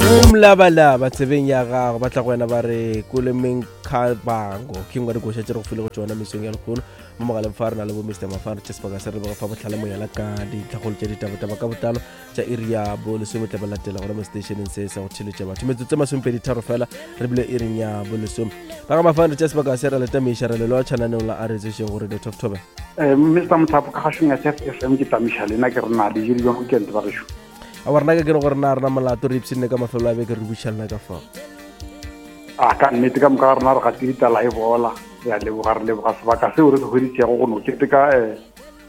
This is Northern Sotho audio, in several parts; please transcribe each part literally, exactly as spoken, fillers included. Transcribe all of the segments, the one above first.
Mlabalaba tsebeng ya gago ba tla go wena ba re kolemeng khabango ke ngwe dikoša tše re go file go tšona mesong ya lekgono mo mogaleng fa re na le bo Mister Mafane Chesebaka se re leboga fa botlhale moyala ka dintlhagolo tša ditabataba ka botlalo tša iri ya bo lesome tla ba latela gona mo stationeng se sa go theletša batho metsotso masomepedi tharo fela re bile iring ya bo lesome ba ga Mafane Chesebaka se re letamiša re lelo tšhananeng la a re tsešeng gore the top tobe. Eh Mister Mothapo ka gašong ya F M ke tamiša lena ke re na le jiri jwa weekend ba gešo. A warna ka ke re gore na rena molato re ipshinne ka mafelo a beke re bušalna ka fao. A ka nnete ka moka rena re gatile tala e bola re a leboga re leboga sebaka seo re se hweditšego go no keteka eh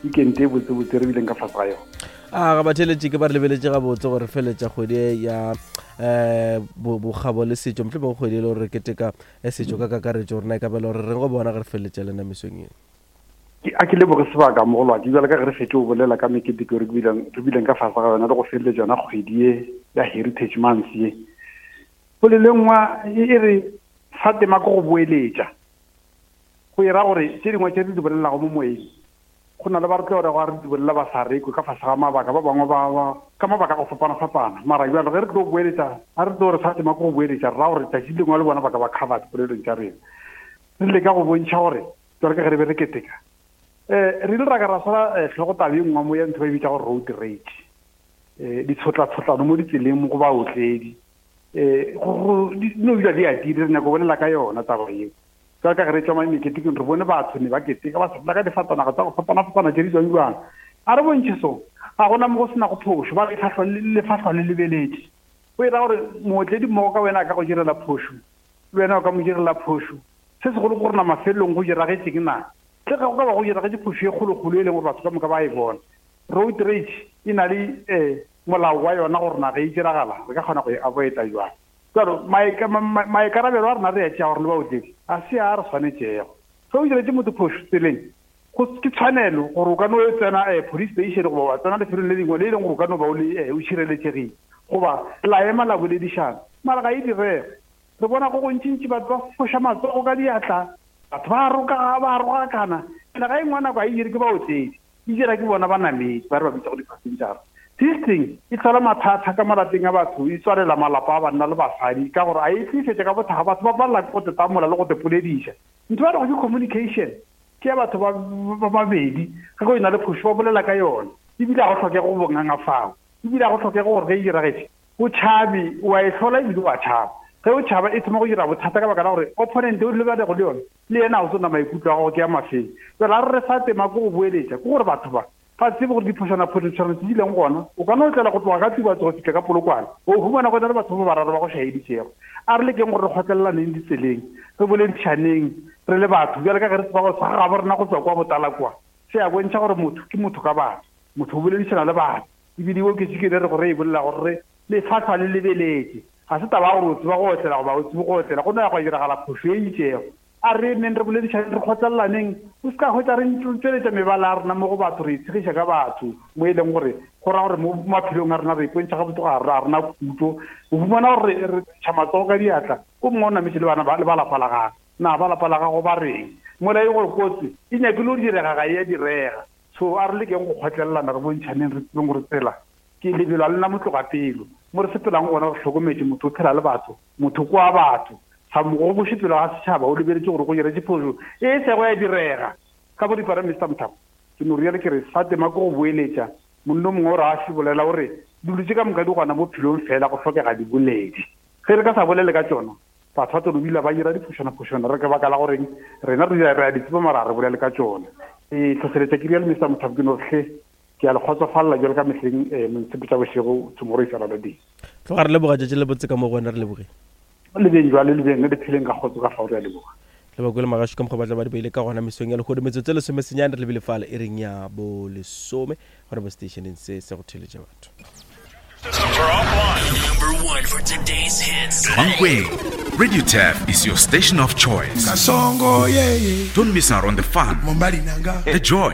weekend e botsebotse re bileng ka fase ga yona. A ga ba theletše ke ba re lebeletše gabotse gore feletša kgwedi ya eh bokgabo le setšo mohlomongwe kgwedi e le gore re keteka setšo ka kakaretšo gore na e ka bela gore re go bona ge re feletša lena mesong eno. A ke leboge sebaka mogolo wa ke bjale ka ge re fetše go bolela ka meketeko re bileng re bileng ka fase ga yona le go feleletša yona kgwedi ye ya Heritage Month ye. Polelengwa e re fa tema ke go boeletša go era gore tše dingwe tše re di bolelago mo moyeng go na le ba re tlo re go re di bolela ba sa rekwe ka fase ga mabaka ba bangwe ba ka mabaka a go fapana-fapana mara bjalo ge re tlo boeletša a re tlo re fa tema ke go boeletša re ra gore tšatši lengwe le bona ba ka ba covered polelong tša rena re leka go bontšha gore jwalo ka ge re be re keteka eh re ile ra ka ra swara tlhogo taba e nngwe mo ya ntho ba e bitša gore road rage eh ditshotlatshotlano mo ditseleng mo go baotledi eh go di no dula di atile re nyaka go bolela ka yona taba eo jwalo ka ge re tswa meketekeng re bone batho ne ba keteka ba sepela ka difatanaga tsa go fapana-fapana tše di tswang jwang a re bontšhe so ga gona mo go sena go phošo ba re lefahlwa le lebeletše go era gore mootledi mmogo ka wena a ka go direla phošo le wena o ka mo direla phošo se segolo ke gore na mafelelong go diragetšeng na tle ge go ka ba go diragetše phošo e kgolokgolo e leng gore batho ka moka ba e bona. Road rage e na le um molao wa yona gore na ge e diragala re ka kgona go e avoida jwang. Jalo maikarabelo a rena re a tšea gore le baotledi a se a re swanetšego ge o diretše motho phošo tseleng ke tshwanelo gore o ka no tsena police station goba wa tsena lefelong le lengwe le e leng gore o ka no ba o le o tšhireletšegile goba la ema la boledišana mara ga e direge re bona go gontšintši batho ba foša matsogo ka diatla batho ba roka ba rogakana ene ga e nngwe nako a e dire ke baotledi e dira ke bona banamedi ba re ba bitsa go di-passenger. This thing e tlhola mathata ka malapeng a batho e tswalela malapa a banna le basadi ka gore a e tlisetše ka bothakga batho ba palela ke go tetamola le go te polediša ntho ba rego ke communication ke ya batho ba babedi ge go ena le phošo ba bolela ka yona ebile ga go tlhokege go bonganga fao ebile ga go tlhokege gore ge e diragetše o tšhabe wa e hlola ebile wa tšhaba ge o tšhaba e thoma go dira bothata ka baka la gore opponent o lebanego le yona le yena a o tsona maikutlo a gago ke a mafeng jale a re re fa tema ke go boeletša ke gore batho ba ba tsebe gore diphošana-phošana tse di leng gona o ka no tlela go tloga ka Tubatse go fitlha ka Polokwane o humana go na le batho ba bararo ba go šaeditšego a re lekeng gore re kgotlelelaneng ditseleng re boledišaneng re le batho bjale ka ge re tseba gore sa gabo rena go tswa kwa botala kwa se a bontšha gore motho ke motho ka batho motho o boledišana le batho ebile o ke tšikele re gore e bolela gore re lefatlhwa le lebeletše ga se taba ya gore o tseba go otlela goba o tsebe go otlela go no ya go diragala phošo e itšego a re neng re boledišaneng re kgotlelaneng o se ka hwetša re tšweletša mebala ya rena mo go batho re itshegiša ka batho mo e leng gore go raya gore mo maphelong a rena re ipontšha gabotse ga re rena khutso o fumana gore re ntšha matsogo ka diatla o mongwe o nametše le bana le ba lapa la gagwe na ba lapa la gago ba reng mola e gore kotsi e nyakile go direga ga e ya direga so a re lekeng go kgotlelelana re bontšhaneng re tsebeng gore tsela ke lebelo a lena motloga pelo mo re sepelang gona re hlokometše motho o phela le batho motho kwa batho sa mo go pele ga setšhaba o lebeletše gore go diretše phošo e sego ya direga ka boripana Mister Mothapo ke no rialo ke re fa tema ke go boeletša monno mongwe o re a se bolela gore dilo tše ka moka di gona bophelong fela go tlhokega diboledi ge re ka sa bolele ka tšona batho ba tlo dula ba dira diphošana-phošana re ka baka la goreng rena re re a di tseba mara re bolele ka tšona e tlhotlheletša ke rialo Mister Mothapo ke no hle ke a le kgotsofalela jalo ka mehleng montshepe tša bošego tomorrow is another day. Tloga re leboga tšatši le botse ka mo go wena re lebogile le beng jwale le beng le pheleng ka kgotso ka fao re a leboga le ba kwele magašo ka mokgwa ba tla ba di beile ka gona mesong ya lehono metsotso e lesomesenyane re lebile fale e reng ya bo lesome gona mo stationeng se se go theletša batho. Number one for today's hits. Mankweng, Radio Turf is your station of choice. Kasongo, yeah, yeah. Don't miss out on the fun, the joy,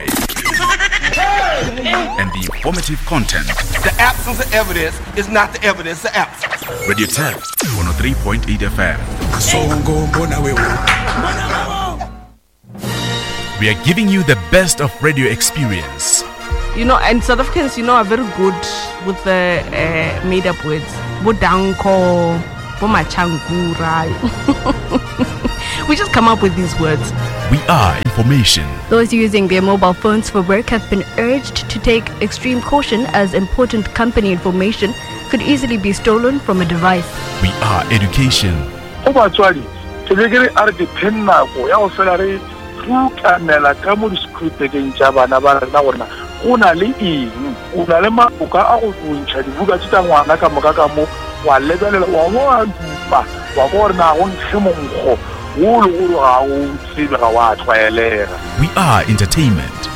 and the informative content. The absence of evidence is not the evidence of absence. Radio Turf, one oh three point eight F M. Kasongo, mbona wewe. We are giving you the best of radio experience. You know, and South Africans, you know, are very good with the uh, made-up words. Bo danko, bo machankura. We just come up with these words. We are information. Those using their mobile phones for work have been urged to take extreme caution as important company information could easily be stolen from a device. We are education. Go batswadi ke be ke re a re ke phe nako ya go fela re rutamela ka mo di-screwbekeng tša bana ba rena gorena go na le eng o na le maboka a go bontšha dibuka tše tša ngwana ka moka ka mo wa lebelela wa bo wa dupa wa kwa gore na go nkge monkgo wo le gore ga o tsebe ga wa tlwaelega. We are entertainment.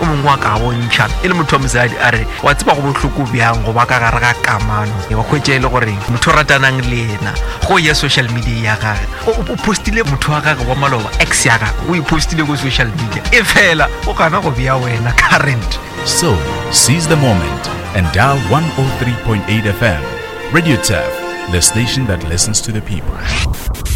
O mongwe wa ka bontšha e le motho wa mosadi a re wa tseba go bohloko bjang go ba ka gare ga kamano wa kgwetša e le gore motho o ratanang le yena go ya social media ya gage o postile motho wa gage wa maloba ex ya gage o e postile ko social media e fela o gana go bea wena current. So, seize the moment and dial one oh three point eight F M. Radio Turf, the station that listens to the people.